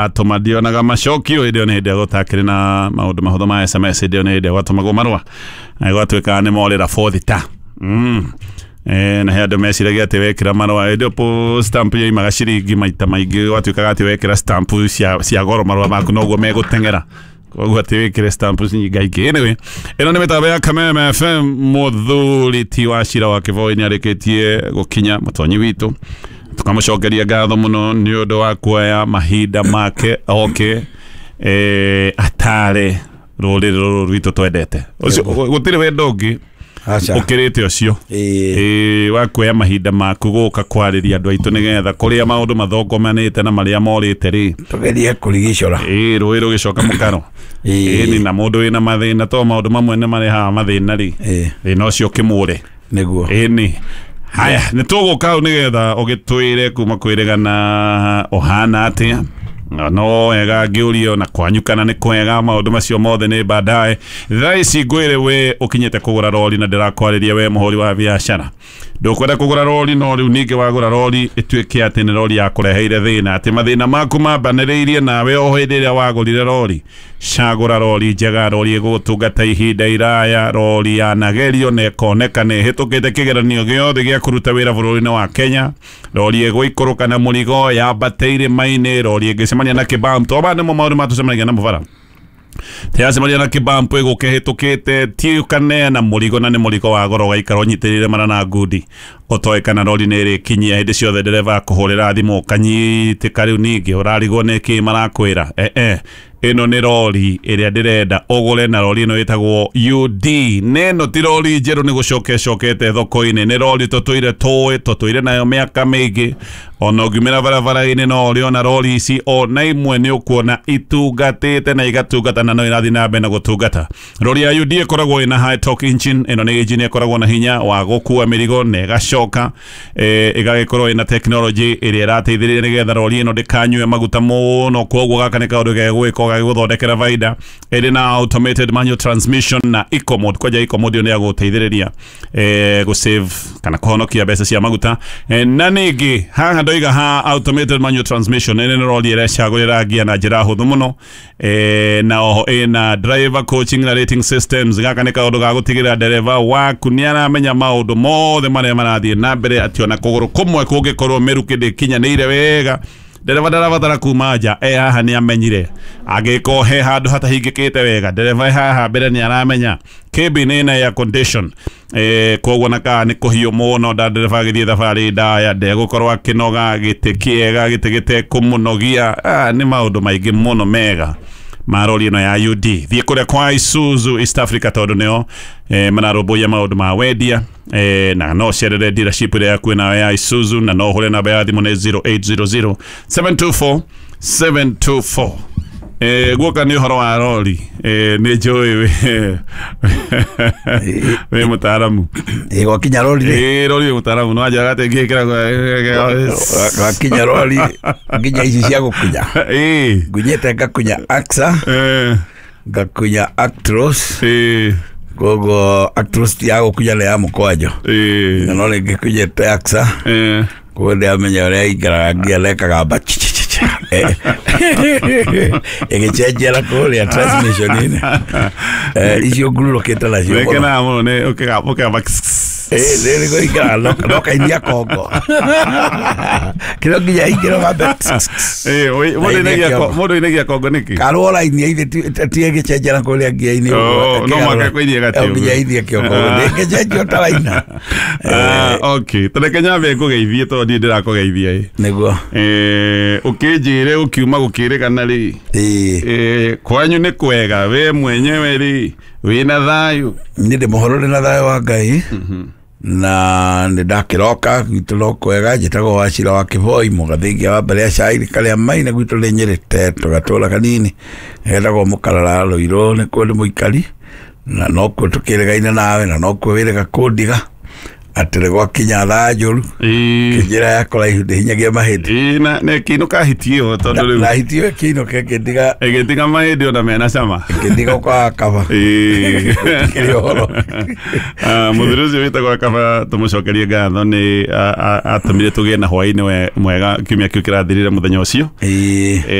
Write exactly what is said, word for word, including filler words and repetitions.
Atũma ndionaga macokio. Hĩndĩ ĩyo nĩ hĩndĩ ĩrĩa gũtakĩrĩ na maũndũ mahũthũ ma S M S. Hĩndĩ ĩyo nĩ hĩndĩ ĩrĩa gwatũmagwo marũa na gwatuĩkaga nĩ morĩra bothita. mm. Eh, na he andũ meciragia atĩ wekĩra marũa hĩndĩ ĩyo po stamp yoimaga ciringi maita maingĩ, gwatuĩkaga atĩ wekĩra stamp cia, cia goro marũa maku noguo megũteng'era, koguo atĩ wĩkĩre stamp nyingaingĩ. Anyway, ĩno nĩ mĩtambo ya Kameme F M. Mũthuri ti wa cira wa Kĩboi nĩ arĩkĩtie gũkinya, mũtonyi witũ, tukamũcokeria ngatho mũno nĩ ũndũ wa kuoya mahinda make oke eh, atare rũrĩrĩ rũrũ rwitũ twendete. Ũcio gũtirĩ wendo ũngĩ Aca. ũkĩrĩte ũcio. Ĩĩ. Ĩĩ, wa kuoya mahinda maku gũka kwarĩria andũ aitũ nĩgetha kũrĩa maũndũ mathongomanĩte na marĩa morĩte rĩ, tugerie kũrigicũra. Ĩĩ, rũĩ rũgĩcoka mũkaro. Ĩĩ. Ĩni na mũndũ wĩna mathĩna, to maũndũ mamwe nĩ marehaga mathĩna rĩ, Ĩĩ. thĩna ũcio ũkĩmũre. Nĩguo. Ĩni haya nĩ tũgũka hau nĩgetha ũgĩtwĩre kuma kwĩrĩgana ũhana atĩa. Na no wega ngĩũrio na kwanyu kana nĩ kwega. Maũndũ macio mothe nĩ baadaye. Thaa ici ngwĩre we ũkinyĩte kũgũra rori na ndĩrakwarĩria we mũhũri wa biacara ndũkwenda kũgũra rori, no rĩu ningĩ wagũra rori ĩtuĩke atĩ nĩ rori yakũreheire thĩna, atĩ mathĩna maku mambanĩrĩirie nawe o hĩndĩ ĩrĩa wagũrire rori. Cagũra rori njega, rori ĩgũgũtungata ihinda iraya, rori yanagerio na ĩkoneka nĩ ĩhĩtũkĩte kĩgeranio gĩothe gĩa kũruta wĩra bũrũri-inĩ wa Kenya, rori ĩgũikũrũka na mũrigo yambate irĩma-inĩ, rori ĩngĩcemania na kĩbamp to ba nĩmo maũndũ matũcemanagia namo bara, teyacemania na kĩbamp ĩgũka ĩhĩtũkĩte, ti ũkaneana mũrigo na nĩ mũrigo wa goro ũgaikara ũnyitĩrĩire mara na ngundi ũtoĩ kana rori nĩ ĩrĩkinyia. Hĩndĩ ciothe ndereba akũhũrĩra thimũ ũkanyitĩka, rĩu ningĩ ũrarigwo nĩ kĩ marakwĩra. eh eh ĩno nĩ rori ĩrĩa ndĩrenda ũgũre, na rori ĩno ĩtagwo U D. Neno ti rori njerũ nĩ gũcoka ĩcokete thoko-inĩ, nĩ rori tũtũire tũĩ tũtũire nayo mĩaka mĩingĩ. Ona ũngiumĩra barabara-inĩ no ũrĩona rori ici, ona imwe nĩ ũkuona itungatĩte na igatungata na no irathiĩ na mbere na gũtungata. Rori ya U D ĩkoragwo ĩna high torque engine. Ĩno nĩ engine ĩkoragwo na hinya wa gũkua mĩrigo na ĩgacoka eh, ĩgagĩkorwo ĩna technology ĩrĩa ĩrateithĩrĩria nĩgetha rori ĩno ndĩkanyue maguta mũno, koguo gaka nĩ kaũndũ gegwĩka gagĩgũthondekera baida. Ĩrĩ na automated manual transmission na eco mode. Kwanja eco mode ĩyo nĩ ya gũteithĩrĩria eh, gũ kana kũhonokia mbeca cia maguta. eh, na ningĩ haha ndoiga ha automated manual transmission, ĩno nĩ rori ĩrecagũrĩra ngia na njĩra hũthũ mũno. eh, na oho ĩna driver coaching na rating systems. Gaka nĩ kaũndũ ga gũtigĩrĩra ndereba waku nĩ aramenya maũndũ mothe marĩa marathiĩ na mbere, atĩ ona kũgũrũ kũmwe kũngĩkorwo mĩrukĩ ndĩkinyanĩire wega, ndereba ndarabatara kuma nja, e haha nĩ amenyire. Angĩkorwo he handũ hatahingĩkĩte wega, ndereba e haha mbere nĩ aramenya. Cabin ĩna air condition, eh, koguo na kaa nĩ kũhiũ mũno nda ndereba agĩthiĩ thabarĩ ndaya ndegũkorwo akĩnoga. Gĩtĩ kĩega, gĩtĩ gĩtekũmũnogia. ah, nĩ maũndũ maingĩ mũno mega ma rori ĩno ya U D. Thiĩ kũrĩa kwa Isuzu East Africa tondũ nĩo eh, mararũmbũiya maũndũ ma wendia, eh, na no cerere dealership ĩrĩa yakuĩ nayo ya Isuzu, na no ũhũre namba ya thimũ nĩ zero eight zero zero seven two four seven two four. Eh, guoka nĩ ũhoro wa rori, eh, nĩ njũĩ wĩ wĩ mũtaaramu. Ĩ, gwakinya rori rĩ. Ĩ, rori wĩ mũtaaramu no anjĩraga atĩ ngĩkĩra. Gwakinya rori nginya ici cia gũkunya, ĩ ngunyĩte ngakunya Axa, eh, ngakunya Actros. Ĩ koguo Actros ti ya gũkunya, nĩ ya mũkwanjo. Ĩ na no rĩngĩ kunyĩte Axa, eh, koguo ndĩramenya ũrĩa ingaraga ngia nekaga mba ĩgĩcenjera kũrĩa transmission-inĩ. Eh, icio ngurũrũkĩte nacio mũno. Wĩkenaga mũno nĩ ũkĩgamba ũkĩgamba. Ĩ, nĩ gũikara no kainia kongo kĩrĩa nginya ingĩro gambe. Ĩ, mũndũ ainagia ko- mũndũ ainagia kongo nĩkĩ? Karwo raini ithe ti ĩgĩcenjera kũrĩa ngia-inĩ. Oh, no mũhaka kũinie gatĩ. Nginya ithie kĩongo ndĩngĩcenjio ta raina. Ah, okay, tareke nyambe ngũgeithie tondũ niĩ ndĩrakũgeithia ĩ. Nĩguo. Eh, ũkĩnjĩre ũkiuma gũkĩrĩgana rĩ, ĩĩ eh, kwanyu nĩ kwega, we mwenyewe rĩ wĩna thayũ? Nĩ ndĩ mũhoro, ndĩ na thayũ wa Ngai na nĩ ndakĩroka. Gwitũ no kwega. Njĩtagwo Wacira wa Kĩboi mũgathingia wa mbere ya cairi karĩa maina. Gwitũ nĩ Nyĩrĩte, tũgatũra kanini getagwo Mũkarara Rũirũ, nĩkuo ndĩ mũikari na nokuo tũkĩrĩgaine nawe na nokuo wĩrĩga kũndiga atĩ nĩ gwakinya thaa njũru. Ĩĩ. Kĩnjĩra ya kũraihu ndĩhinyagia mahĩndĩ. Ĩĩ, na na ĩkĩinũka hiti ĩyo tondũ rĩu na hiti ĩyo ĩkĩinũka ĩkĩndiga. Ĩgĩtiga mahĩndĩ ona mena cama. Ĩkĩndiga kwa kaba. Ĩĩ. Kĩrĩ ũhoro. Ah, mũthuri ũcio wĩtagwo Kaba tũmũcokerie ngatho nĩ a- a- atũmire tũgĩe na hwaĩ-inĩ we- mwega kiumia kĩu kĩrathirire mũthenya ũcio. Ĩĩ. Eh,